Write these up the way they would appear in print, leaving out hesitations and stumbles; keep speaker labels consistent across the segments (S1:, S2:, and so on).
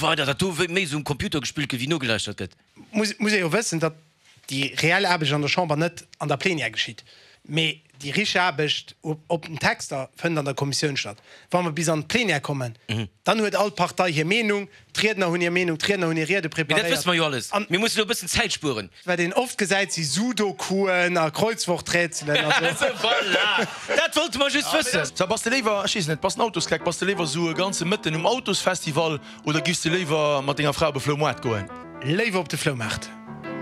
S1: Weider, datt do méi esou um Computer gespillt gëtt, wéi nogelauschtert gëtt.
S2: Muss ee jo wëssen, datt déi reell Aarbecht an der Chamber net an der Plenière geschitt, mee déi richteg Aarbecht op den Texter fënnt an der Kommissioun statt. Wa mer bis an d'Plenière kommen, dann huet all Partei hir Meenung, d'Riedner hunn hir Meenung, d'Riedner hunn hir Riede
S1: Mee dat
S2: preparéiert.
S1: wësse mer jo alles. Mir mussen elo e bëssen Zäit spueren.
S2: Wat een oft gesäit, si Sudokuen a Kreuzworträtselen a sou.
S1: Voilà! Dat wollte mer just wëssen.
S3: So, bass de léiwer, ech weess net, bass en Autosgleck, bass de léiwer sou e ganze Mëtten um Autosfestival oder giffs de léiwer mat denger Fra op e Floumoart goen?
S2: Léiwer op de Floumaart.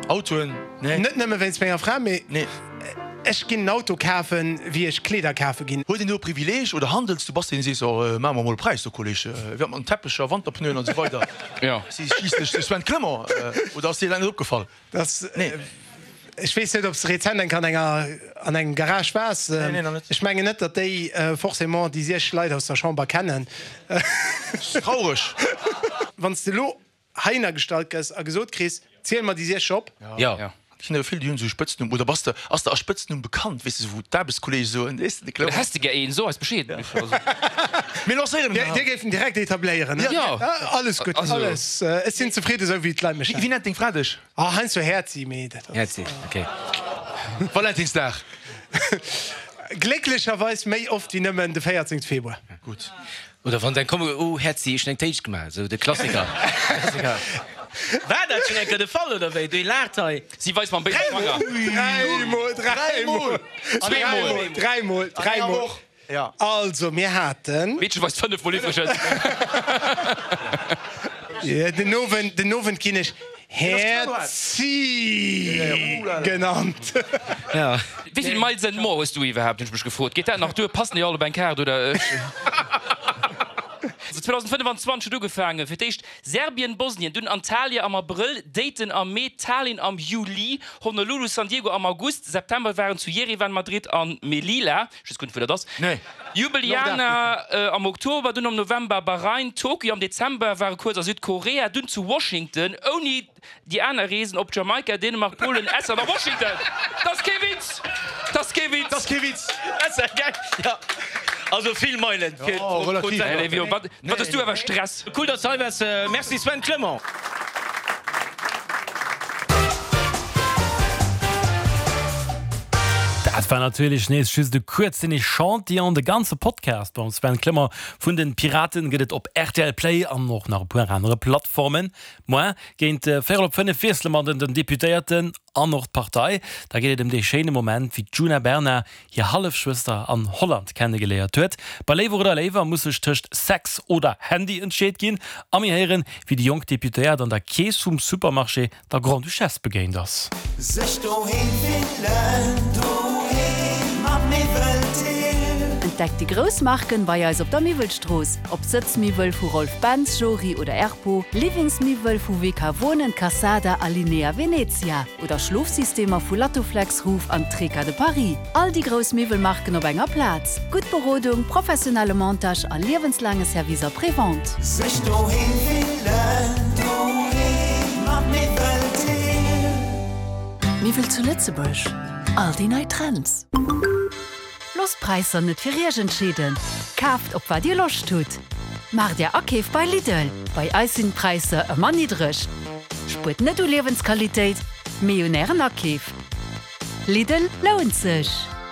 S3: Autoen, nee.
S2: Net nëmme wéinst menger Fra, mee
S3: Nee.
S2: ech ginn en Auto kafen, wéi ech Kleeder kafe ginn.
S3: Huet een do e Privileeg oder handels du? Bass de een, dee sees, oh, maache mer mol e Präis do, Kolleg, wéi mat den Teppecher, Wanterpneuen an esou weider.
S4: Jo.
S3: Si schliisslech de Sven Clement, oder ass dir dat net opgefall?
S2: Dass,
S3: Nee.
S2: ech weess net, ob s de rezent eng Kéier an enger, an engem Garage waars.
S3: Nee, nee, nach net.
S2: Ech mengen net, datt déi forcément déi 6 Leit aus der Chamber kennen.
S3: Traureg.
S2: Wann s de elo heihinner gestallt gëss a gesot kriss, Ziel mer déi 6 op.
S1: Jo.
S3: Et ginn der vill, déi hunn esou e Spëtznumm. Oder bass de, ass der a Spëtznumm bekannt, weess de, wou d'Aarbechtskolleege soen, weess de, de
S4: Clement. Oder häss de gär een, so eis Bescheed.
S3: Mir lancéieren en.
S2: Dir géift en direkt etabléieren, ne?
S4: Jo.
S2: Alles gutt, alles. Ech sinn zefridde sou wéi d'Leit mech
S3: nennen. Wéi nennt deng Fra dech?
S2: Ah, heiansdo Häerzi, mee dat ass.
S1: Häerzi, ok.
S3: Valentinsdag.
S2: Glécklecherweis méi oft wéi nëmmen de 14 Februar.
S3: Gutt.
S1: Oder wann se eng kommen, oh Häerzi, ech hunn eng Téitsch gemaach, esou de Klassiker. War dat schonn eng Kéier de Fall oder wéi? Déi laacht hei.
S4: Si weist mam béise Fanger.
S2: Dräimol, dräimol, dräimol, dräimol, dräimol. Also mir haten.
S4: D'Meedche weist fënnefmol iwwregens.
S2: Den Owend, den Owend ginn ech Häerzi genannt.
S4: Wéi vill Miles and More hues du iwwerhaapt, hunn ech mech gefrot. Geet dat nach duer? Passen déi all op eng Kaart oder? Also 2025 huet ugefaangen, fir d'éischt Serbien, Bosnien, dunn Antalya am Abrëll, Dayton am Mee, Tallinn am Juli, Honolulu, San Diego am August, September waren zu Jerewan, Madrid an Melilla, ech weess guer net wou dat ass, Ljubljana am Oktober, dunn am November Bahrain, Tokio am Dezember, ware kuerz a Südkorea, dunn zu Washington, ouni déi aner Reesen op Jamaika, Dänemark, Polen, Estland a Washington. Dat ass kee Witz! Dat ass kee Witz!
S3: Dat ass kee Witz!
S1: Ja, also vill Meilen fir pro Sendung.
S4: Wat hues du awer Stress!
S1: Cool, dass du hei waars. Merci Sven Clement.
S5: Dat war natierlech nees just e kuerzen Echantillon. De ganze Podcast mam Sven Clement vun den Piraten gëtt et op rtl Play an och nach e puer anere Plattformen. Moar géint véierel op 5 wiessele mer den Deputéierten an och d'Partei. Da geet et ëm dee schéine Moment, wéi d'Djuna Bernard hir Hallefschwëster an Holland kennegeléiert huet. Bei Léiwer oder Léiwer muss sech tëscht Sex oder Handy entscheet ginn a mir héieren, wéi déi jonk Deputéiert an der Keess vum Supermarché der Grande-Duchesse begéint ass.
S6: Sech doheem fillen, doheem mam Miwweltill.
S7: Entdeckt déi grouss Marken bei eis op der Miwwelstrooss, ob Sëtzmiwwel vu Rolf Benz, Jory oder Erpo, Livingsmiwwel vu WK Wohnen, Cassada a Linea Venezia oder Schlofsystemer vu Lattoflex, Roof an Treca de Paris. All déi grouss Miwwelmarken op enger Plaz. Gutt Berodung, professionelle Montage a liewenslaange Service après-vente.
S6: Sech doheem fillen, doheem mat Miwweltill.
S7: Miwwel zu Lëtzebuerg, all déi nei Trends. Loosst d'Präisser net fir Iech entscheeden, kaaft op wat Dir Loscht hutt. Maacht Är Akeef bei Lidl, bei eis sinn d'Präisser ëmmer niddreg. Spuert net u Liewensqualitéit, mee un Ären Akeef. Lidl lount sech!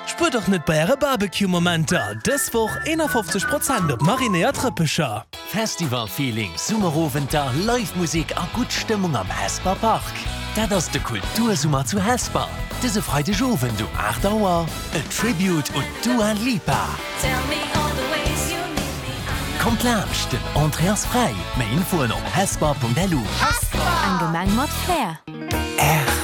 S8: Spuert och net bei äre Barbecue-Momenter! Dës Woch 51 Prozent op marinéiert Rëppecher.
S9: Festival-Feeling, Summerowenter, Live Musek a gutt Stëmmung am Hesper Park. Dat ass de Kultursummer zu Hesper. Dëse Freideg Owend um 8 Auer en Tribute un d'Dua Lipa. Kommt laanscht, den Entrée ass fräi. Méi Infoen op hesper.lu.
S7: Eng Gemeng mat Flair.
S9: R.